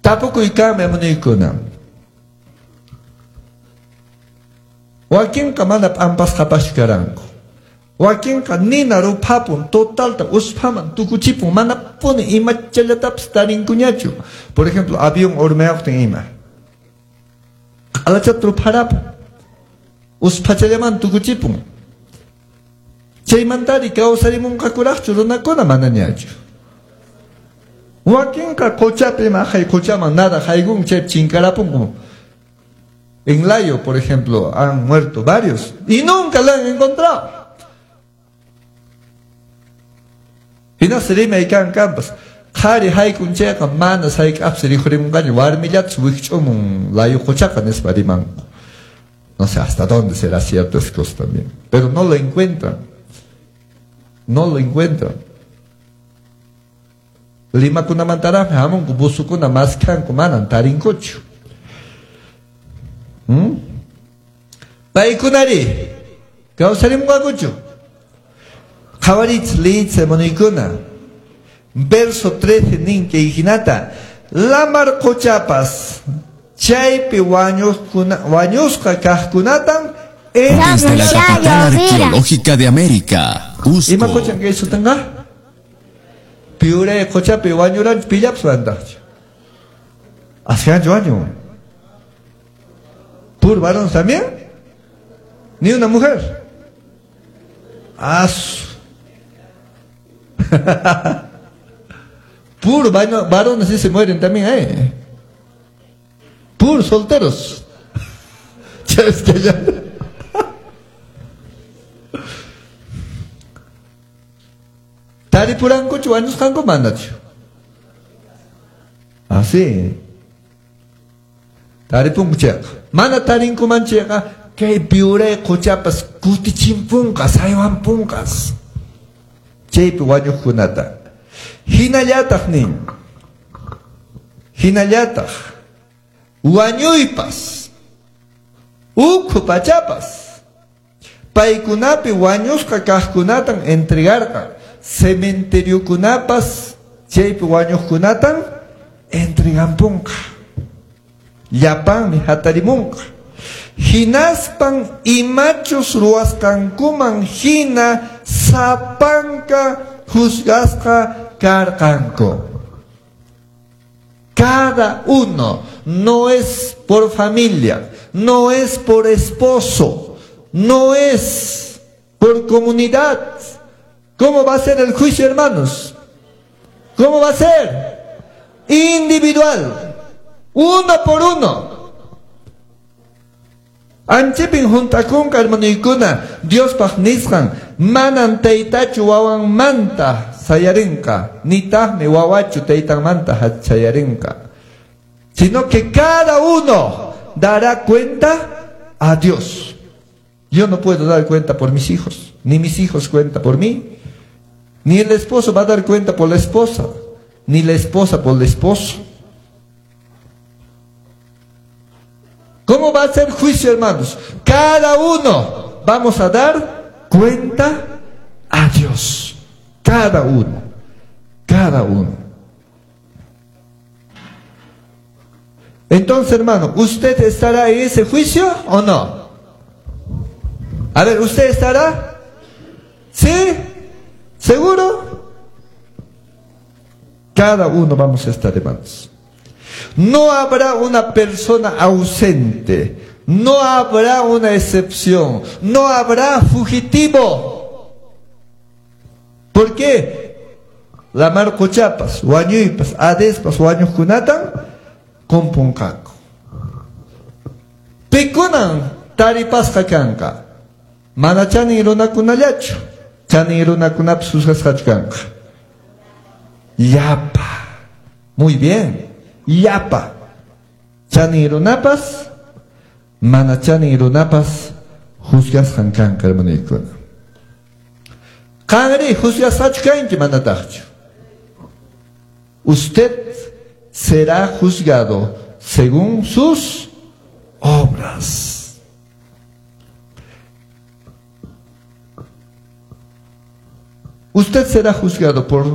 Tapukuy kanmi, hermanoykuna. Wakinqa mana p'ampasqapaschu karanku. Wakinqa nina ruphapun, totalta usphaman tukuchipun, manapuni imachallatapis tarinkuñachu. Por ejemplo, avión urmayuqtin ima. Q'alachata rupharapun. Usphachallaman tukuchipun. Chaymantari kawsarimunqakuraqchu runakuna manañachu. Wakinqa quchapi maqay quchaman nada haykun chaypi chinkarapunku. En Layo, por ejemplo, han muerto varios y nunca la han encontrado. Hinas rimay kan kampas. Qhari haykun chayqa mana hayk'apsi rikhurimunqaña warmillatas wikch'umun Layo quchaqa nispa rimanku. No sé hasta dónde será cierto esas cosas también. Pero no lo encuentran. No lo encuentran. Limakunamantaraqmi hamunku busukuna maskhanku manan tarinkuchu. Paykunari kawsarimunqakuchu? Qhawaritz liyitz hermanoykuna. Verso 13 nin kay hinata lamar quchapas chaypi wañusqa kaqkunatan Desde la capital arqueológica de América, Cusco. Ima quchan kay sutinqa? Piuray quchapi wañuranchu pillapas wantaqchu. Askanchu wañun. ¿Puro varón también? Ni una mujer. Asu. Puro varones sí se mueren también ahí. Puros solteros. Es que ya. Taripurankuchu wañusqanku manachu. Así. Taripunku chayqa. Mana tarinkuman chayqa kay piuray quchapas kutichimpunqas, haywanpunqas. Chaypi wañuqkunata. Hinallataq nin. Hinallataq wañuypas, ukhu pachapas, paykunapi wañusqa kaqkunatan entregarqa. Cementeriokunapas chaypi wañuqkunatan entregampunqa. Llapanmi hatarimunqa. Hinaspan imachus ruwasqankuman hina sapanka juzgasqa karqanku. Cada uno, no es por familia, no es por esposo, no es por comunidad. ¿Cómo va a ser el juicio, hermanos? ¿Cómo va a ser? Individual, uno por uno. Anchipin juntakunqa hermanoykuna Diospaq nisqan manan taytachu wawanmanta sayarinqa nitaqmi wawachu taytanmanta sayarinqa, sino que cada uno dará cuenta a Dios. Yo no puedo dar cuenta por mis hijos, ni mis hijos cuenta por mí, ni el esposo va a dar cuenta por la esposa, ni la esposa por el esposo. ¿Cómo va a ser juicio, hermanos? Cada uno vamos a dar cuenta a Dios. Cada uno. Cada uno. Entonces, hermano, ¿usted estará en ese juicio o no? A ver, ¿usted estará? ¿Sí? ¿Seguro? Cada uno vamos a estar, hermanos. No habrá una persona ausente, no habrá una excepción, no habrá fugitivo. ¿Por qué? La marcochapas, wañuypas, adespas, wañuqkunatan kumpunqaku. Pikunan taripasqa kanqa. Mana chanin runakunallachu, chanin runakunapas juzgasqachu kanqa. Llapa. Muy bien. Llapa. Chanin runapas, mana chanin runapas juzgasqan kanqa, hermanoykuna. Qanri juzgasqachu kanki manataqchu. Usted será juzgado según sus obras. Usted será juzgado por